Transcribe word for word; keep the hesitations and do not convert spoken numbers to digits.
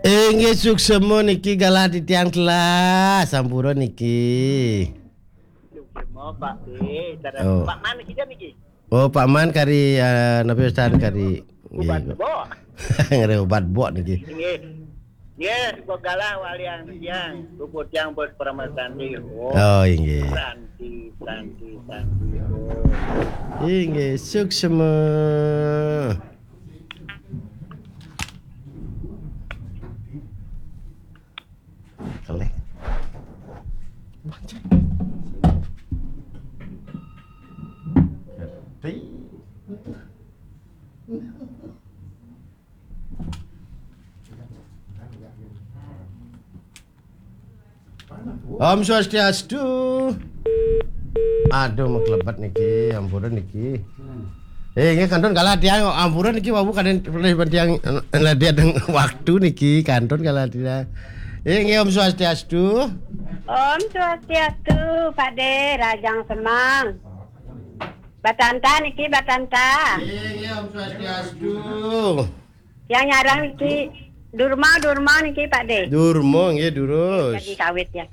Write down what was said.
Inggih suksma niki galah titiang telah sampura niki. Suksma, Pak. Eh, cara Oh. Pak Man niki jan niki. Oh, Pak Man kari, eh, napi wastan kari. Ubat Nggih. Bok. Nggih, ubat bok niki. Nggih. Nggih, kok galah walian tiang. Puput tiang bos Parama Santi. Oh. Oh, inggih. Santi, Santi, Santi. Oh. Inggih, suksma. Kelih. Om Swastiastu. Aduh, maklebet niki, ampura niki. Eh, nggih kantun galah tiang, ampura niki wau kadén tiang, eh, ladian waktu niki kantun galah tiang. Eh, nggih Om Swastiastu. Om Swastiastu, Pak De, Rajang Semang. Batanta niki, Batanta. Eh, nggih Om Swastiastu. Yang nyarang niki Durma, Durma niki, Pak De. Durma, nggih, durus. Lagi kawit ya.